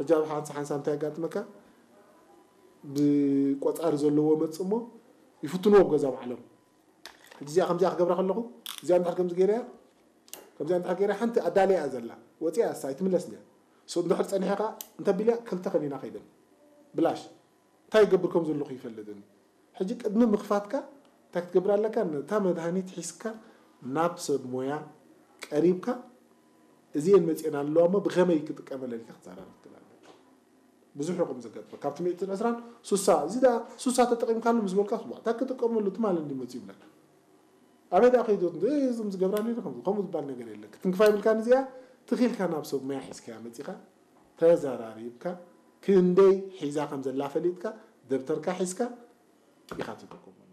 ሕጂ ኣብ ሓንሳ ሓንሳ እንታይ ያጋጥመካ? ብቆጻሪ ዘለዎ መጽእ እሞ ይፍትንዎ ኣብ ገዛ ባዕሎም። ሕጂ እዚኣ ከምዚኣ ክገብራ ከለኹ፣ እዚኣ እንድሕር ከምዚ ገይረያ፣ ከምዚኣ እንድሕር ገይረያ፣ ሓንቲ ኣዳለያ እያ ዘላ፣ ወፂኣ እሳ ኣይትምለስን እያ። So እንድሕር ፀኒሐ ከዓ እንተቢልያ ክልተ ከኒና ከይደን ብላሽ እንታይ ይገብር ከም ዘለኹ ይፈልጥን። ሕጂ ቅድሚ ምኽፋትካ እንታይ ክትገብር ኣለካ? ነታ መድሃኒት ሒዝካ ናብ ሰብ ሞያ ቀሪብካ፣ እዚኤን መፅኤን ኣለዋ እሞ ብኸመይ ክጥቀመለን ኢልካ ክትዛረብ ትኽእል ኣለካ። ብዙሕ ይኹም ዘጋጥመ ካብቲ ሚእትን ዕስራን ሱሳ፣ እዚ ደኣ ሱሳ ተጠቒምካሉ ምስ በልካ፣ ስዋ እንታይ ክጥቀመሉ ትማል እንዲ መፅኡ ይብለካ። ኣበይ ደኣ ከይዱ እዞም ዝገብራሉ ኢለ ከምዚ ከምኡ ዝበሃል ነገር የለ። ክትንክፋ ይብልካ። ንዚኣ ትኺልካ ናብ ሰብ ሞያ ሒዝካያ መፂኻ ተዘራሪብካ፣ ክንደይ ሒዛ ከም ዘላ ፈሊጥካ፣ ደብተርካ ሒዝካ ኢኻ ትጥቀመሉ።